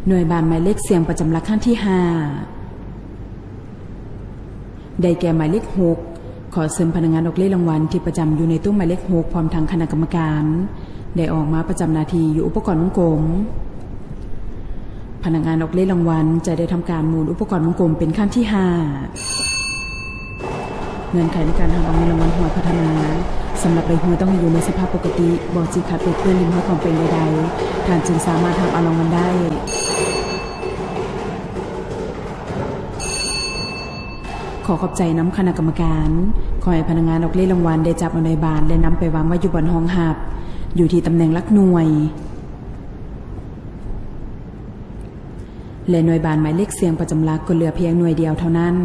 ໜ່ວຍບານໝາຍເລກສ່ຽງປະຈຳຫຼັກຄັ້ງທີຫ້າ ໄດ້ແກ່ໝາຍເລກຫົກ. ຂໍເຊີນພະນັກງານອອກເລກລາງວັນທີ່ປະຈຳຢູ່ໃນໂຕະໝາຍເລກຫົກ ພ້ອມທັງຄະນະກຳມະການ ໄດ້ອອກມາປະຈຳໜ້າທີ່ຢູ່ອຸປະກອນວົງກົມ. ພະນັກງານອອກເລກລາງວັນຈະໄດ້ທຳການໝູນອຸປະກອນວົງກົມເປັນຄັ້ງທີຫ້າ. ເງື່ອນໄຂໃນການຮັບເອົາເງິນລາງວັນຫວຍພັດທະນາ ສຳລັບໃບຫວຍຕ້ອງໃຫ້ຢູ່ໃນສະພາບປົກກະຕິ, ບໍ່ຈິກຂັດເປີດເປື້ອນ, ລິ້ນຮອຍປອມແປງໃດໆ, ທ່ານຈຶ່ງສາມາດຮັບເອົາລາງວັນໄດ້. ຂໍຂອບໃຈນຳຄະນະກຳມະການ. ຂໍໃຫ້ພະນັກງານອອກເລກລາງວັນໄດ້ຈັບເອົາໜ່ວຍບານ ແລະ ນຳໄປວາງໄວ້ຢູ່ບ່ອນຮອງຮັບ ຢູ່ທີ່ຕຳແໜ່ງຫຼັກໜ່ວຍ. ແລະ ໜ່ວຍບານໝາຍເລກສ່ຽງປະຈຳຫຼັກກໍເຫຼືອພຽງໜ່ວຍດຽວເທົ່ານັ້ນ.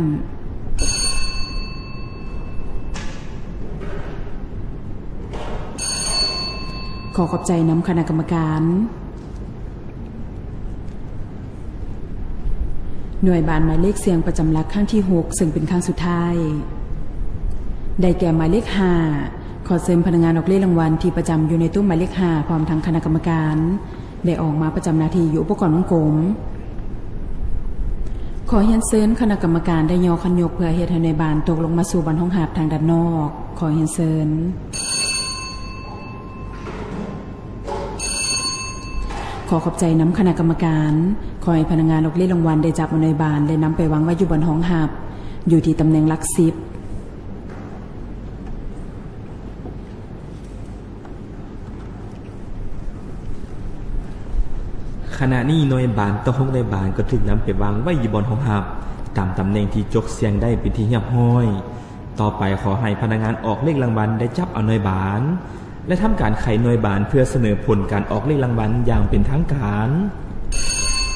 ຂໍຂອບໃຈນຳຄະນະກຳມະການ. ໜ່ວຍບານໝາຍເລກສ່ຽງປະຈຳຫຼັກຄັ້ງທີຫົກ ເຊິ່ງເປັນຄັ້ງສຸດທ້າຍ ໄດ້ແກ່ໝາຍເລກຫ້າ. ຂໍເຊີນພະນັກງານອອກເລກລາງວັນທີ່ປະຈຳຢູ່ໃນໂຕະໝາຍເລກຫ້າ ພ້ອມທັງຄະນະກຳມະການ ໄດ້ອອກມາປະຈຳໜ້າທີ່ຢູ່ອຸປະກອນວົງກົມ. ຂໍຮຽນເຊີນຄະນະກຳມະການໄດ້ຍໍຄັນຍົກເພື່ອເຮັດໃຫ້ໜ່ວຍບານຕົກລົງມາສູ່ບ່ອນຮອງຮັບທາງດ້ານນອກ. ຂໍຮຽນເຊີນ. ຂໍຂອບໃຈນຳຄະນະກຳມະການ. ຂໍໃຫ້ພະນັກງານອອກເລກລາງວັນໄດ້ຈັບເອົາໜ່ວຍບານ ແລະ ນຳໄປວາງໄວ້ຢູ່ບ່ອນຮອງຮັບ ຢູ່ທີ່ຕຳແໜ່ງຫຼັກສິບ. ຂະນະນີ້ໜ່ວຍບານຕໍ່ຫົກໜ່ວຍບານກໍຖືກນຳໄປວາງໄວ້ຢູ່ບ່ອນຮອງຮັບ ຕາມຕຳແໜ່ງທີ່ຈົກສ່ຽງໄດ້ເປັນທີ່ຮຽບຮ້ອຍ. ຕໍ່ໄປຂໍໃຫ້ພະນັກງານອອກເລກລາງວັນໄດ້ຈັບເອົາໜ່ວຍບານ ແລະ ທຳການໄຂໜ່ວຍບານເພື່ອສະເໜີຜົນການອອກເລກລາງວັນຢ່າງເປັນທາງການ.